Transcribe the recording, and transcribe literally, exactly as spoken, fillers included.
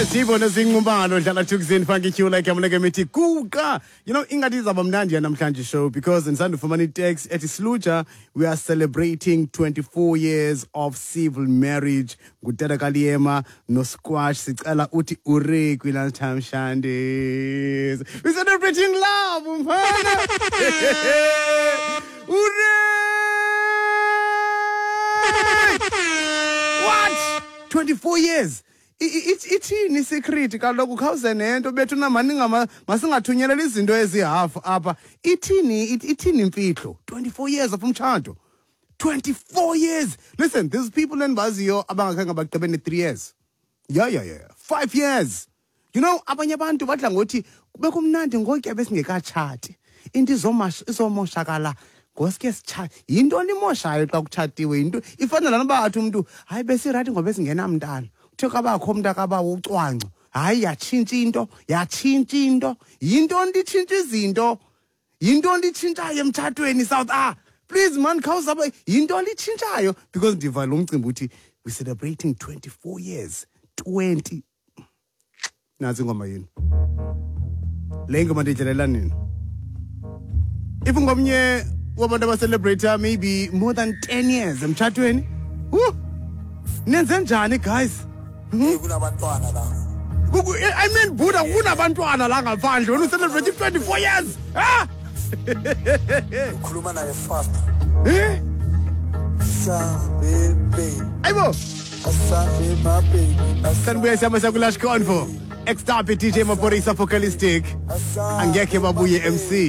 Sibona sinqumano dlala Thukzin Funky Q like yamleke mithi kuka. You know, ingathi izaba mnandi namhlanje show because ndisandufumana i-text ethi, "Sluja, we are celebrating twenty-four years of civil marriage ngutata kaLiyema noSquash. Sicela uthi ure kwi-lunchtime shandies. We celebrating love, mfana. Ure! What? twenty-four years. I- i- it- ithini isecret kaloku? Khawuze nento bethuna, maninga masingathunyeleli izinto ezihafu apha. Ithini it- ithini imfihlo? twenty-four years of umtshato. twenty-four years. Listen, there's people endibaziyo abangakhange bagqibe ne-three years. Yeah, yeah, yeah. five years. You know, abanye abantu badla ngothi kube kumnandi ngokuya besingekatshati. Into izomash izomoshakala ngosuke sitsha. Yintoni imoshayo xa kutshatiwe? Yinto ifana lana uba athi umntu, "Hayi, besirayithi ngoba besingenamntana." Kuthe kabakho umntu akabawo ucwangco. Hayi, yatshintsha into, yatshintsha into. Yintoni itshintsha izinto? Yintoni itshintshayo emtshatweni, South Ah? Please man, khawuzaba yintoni itshintshayo? Because ndiva lo mcimbi uthi we celebrating twenty-four years. twenty. Nantsi ingoma yenu. Le ngoma ndiyidlalela nini? If ngomnye wabantu abacelebrate maybe more than ten years emtshatweni. Woo! Nenze njani, guys? Hmm? Kunabantwana la. Kuku- I mean, Buddha, kunabantwana la ngaphandle wena ucelebrate twenty-four years. Ah! Ukhuluma naye fast. Eh? Sambe baby. Ayibo. Asambe my baby. Sanbuya siyama sakulash convo. X-Star D J Maphorisa Focalistic. Angekhe babuye M C.